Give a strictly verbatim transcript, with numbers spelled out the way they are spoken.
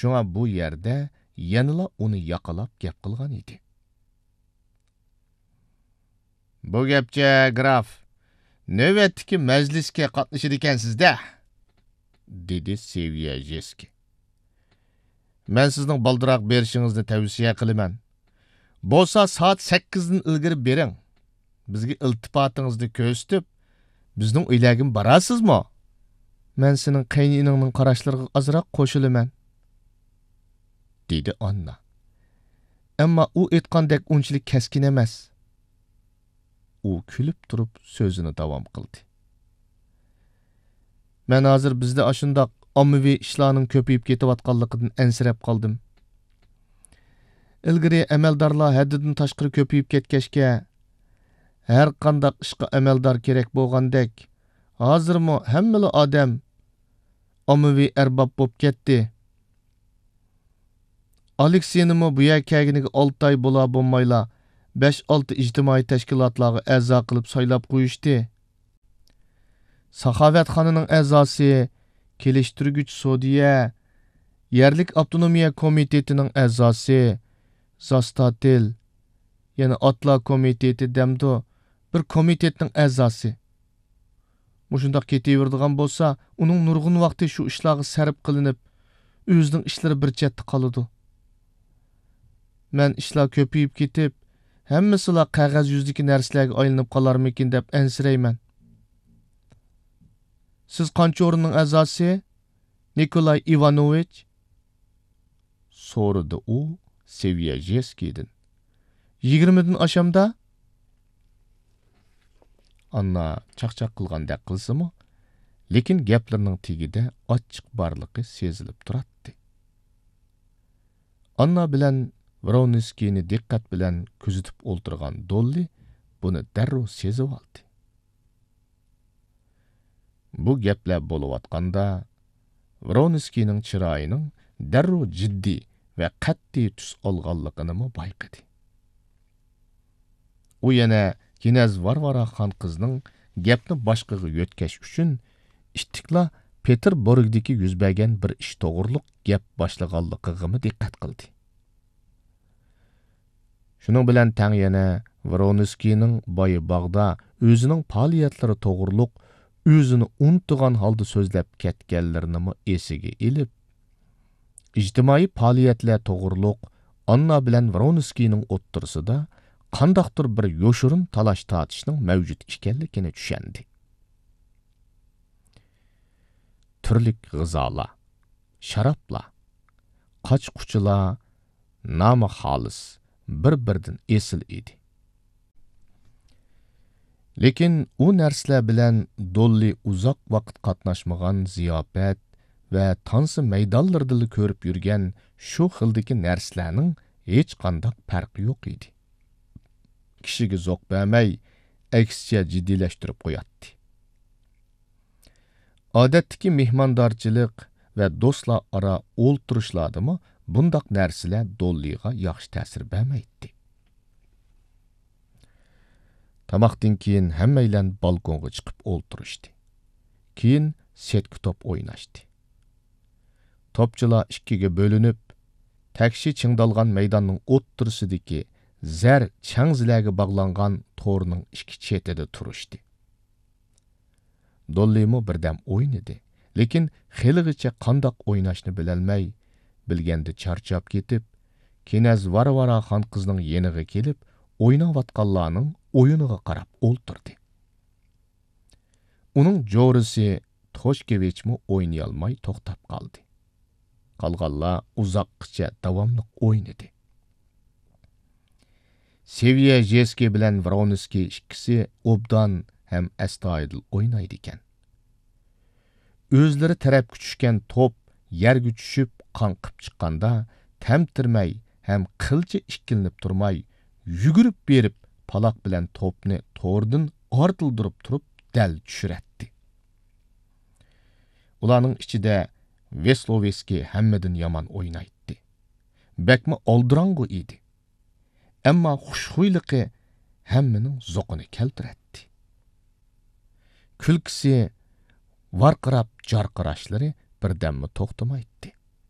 شۇڭا بۇ يەردە يەنىلا ئۇنى ياقىلاپ گەپ قىلغان ئىدى. بۇ گەپچە، گراف، نۆۋەتتىكى مەجلىسكە قاتنىشىدىكەنسىز-دە، دېدى سېۋيەژېسكىي. مەن سىزنىڭ بالدۇراق بېرىشىڭىزنى تەۋسىيە قىلىمەن. بولسا سائەت سەككىزدىن ئىلگىرى بېرىڭ. بىزگە ئىلتىپاتىڭىزنى كۆرسىتىپ، بىزنىڭ ئۆيلەرگىمۇ بارارسىزمۇ؟ مەن سېنىڭ قېيىنئىنىڭنىڭ قاراشلىرىغا ئازراق قوشۇلىمەن، دېدى ئاننا. ئەمما ئۇ ئېيتقاندەك ئۇنچىلىك كەسكىن ئەمەس. ئۇ كۈلۈپ تۇرۇپ سۆزىنى داۋام قىلدى. مەن ھازىر بىزدە ئاشۇنداق ئاممىۋى ئىشلارنىڭ كۆپىيىپ كېتىۋاتقانلىقىدىن ئەنسىرەپ قالدىم. ئىلگىرى ئەمەلدارلار ھەددىدىن تاشقىرى كۆپىيىپ كەتكەچكە، ھەر قانداق ئىشقا ئەمەلدار كېرەك بولغاندەك، ھازىرمۇ ھەممىلا ئادەم ئاممىۋى ئەرباب بولۇپ كەتتى. ئالېكسېينىمۇ بۇ يەرگە كەلگىنىگە ئالتە ئاي بولا بولمايلا، بەش-ئالتە ئىجتىمائىي تەشكىلاتلارغا ئەزا قىلىپ سايلاپ قويۇشتى. ساخاۋەتخانىنىڭ ئەزاسى، كېلىشتۈرگۈچ سودىيە، يەرلىك ئاپتونومىيە كومىتېتىنىڭ ئەزاسى، زاستاتېل، يەنى ئاتلا كومىتېتى دەمدۇ، بىر كومىتېتنىڭ ئەزاسى. مۇشۇنداق كېتىۋېرىدىغان بولسا، ئۇنىڭ نۇرغۇن ۋاقتى شۇ ئىشلارغا سەرپ قىلىنىپ، ئۆزىنىڭ ئىشلىرى بىر چەتتە قالىدۇ. مەن ئىشلار كۆپىيىپ كېتىپ، ھەممىسىلا قەغەز يۈزىدىكى نەرسىلەرگە ئايلىنىپ قالارمىكىن دەپ ئەنسىرەيمەن. سىز قانچە ئورۇننىڭ ئەزاسى، نىكولاي ئىۋانوۋىچ؟ سورىدى ئۇ سېۋيەژېسكىيدىن. يىگىرمىدىن ئاشامدا؟ ئاننا چاقچاق قىلغاندەك قىلسىمۇ، لېكىن گەپلىرىنىڭ تېگىدە ئاچچىق بارلىقى سېزىلىپ تۇراتتى. ئاننا بىلەن ۋرونسكىينى دىققەت بىلەن كۆزىتىپ ئولتۇرغان دوللى بۇنى دەررۇ سېزىۋالدى. بۇ گەپلەر بولۇۋاتقاندا، ۋرونسكىينىڭ چىرايىنىڭ دەررۇ جىددىي ۋە قەتئىي تۈس ئالغانلىقىنىمۇ بايقىدى. ئۇ يەنە كىنەز ۋارۋارا خان قىزنىڭ گەپنى باشقىغا يۆتكەش ئۈچۈن ئىتتىكلا پېتېربۇرگدىكى يۈز بەرگەن بىر ئىش توغرۇلۇق گەپ باشلىغانلىقىغىمۇ دىققەت قىلدى. شۇنىڭ بىلەن تەڭ يەنە ۋرونسكىينىڭ بايا باغدا ئۆزىنىڭ پائالىيەتلىرى توغرۇلۇق ئۆزىنى ئۇنتۇغان ھالدا سۆزلەپ كەتكەنلىرىنىمۇ ئېسىگە ئېلىپ، ئىجتىمائىي پائالىيەتلەر توغرۇلۇق ئاننا بىلەن ۋرونسكىينىڭ ئوتتۇرىسىدا قانداقتۇر بىر يوشۇرۇن تالاش-تارتىشنىڭ مەۋجۇت ئىكەنلىكىنى چۈشەندى. تۈرلۈك غىزالار، شارابلار، قاچا-قۇچىلار نامى خالىس، بىر-بىرىدىن ئېسىل ئىدى. لېكىن ئۇ نەرسىلەر بىلەن دوللى ئۇزاق ۋاقىت قاتناشمىغان زىياپەت ۋە تانسا مەيدانلىرىدىلا كۆرۈپ يۈرگەن شۇ خىلدىكى نەرسىلەرنىڭ ھېچقانداق پەرقى يوق ئىدى. كىشىگە زوق بەرمەي، ئەكسىچە جىددىيلەشتۈرۈپ قوياتتى. ئادەتتىكى مېھماندارچىلىق ۋە دوستلار ئارا ئولتۇرۇشلاردىمۇ بۇنداق نەرسىلەر دوللىغا ياخشى تەسىر بەرمەيتتى. تاماقتىن كېيىن ھەممەيلەن بالكونغا چىقىپ ئولتۇرۇشتى. كېيىن سېتكا توپ ئويناشتى. توپچىلار ئىككىگە بۆلۈنۈپ، تەكشى چىڭدالغان مەيداننىڭ ئوتتۇرىسىدىكى زەر چەڭزىلەرگە باغلانغان تورنىڭ ئىككى چېتىدە تۇرۇشتى. دوللىمۇ بىردەم ئوينىدى، لېكىن خېلىغىچە قانداق ئويناشنى بىلەلمەي، بىلگەندە چارچاپ كېتىپ، كىنەز ۋارۋارا خان قىزنىڭ يېنىغا كېلىپ، ئويناۋاتقانلارنىڭ ئويۇنىغا قاراپ ئولتۇردى. ئۇنىڭ جورىسى توشكېۋىچمۇ ئوينىيالماي توختاپ قالدى. قالغانلار ئۇزاققىچە داۋاملىق ئوينىدى. سېۋيەژېسكىي بىلەن ۋرونسكىي ئىككىسى ئوبدان ھەم ئەستايىدىل ئوينايدىكەن. ئۆزلىرى تەرەپكە چۈشكەن توپ يەرگە چۈشۈپ قاڭقىپ چىققاندا، تەمتىرىمەي ھەم قىلچە ئىككىلىنىپ تۇرماي، يۈگۈرۈپ بېرىپ پالاق بىلەن توپنى توردىن ئارتىلدۇرۇپ تۇرۇپ دەل چۈشۈرەتتى. ئۇلارنىڭ ئىچىدە ۋېسلوۋېسكىي ھەممىدىن يامان ئوينايتتى. بەكمۇ ئالدىراڭغۇ ئىدى. ئەمما خۇشخۇيلۇقى ھەممىنىڭ زوقىنى كەلتۈرەتتى. كۈلكىسى، ۋارقىراپ جارقىراشلىرى بىردەممۇ توختىمايتتى.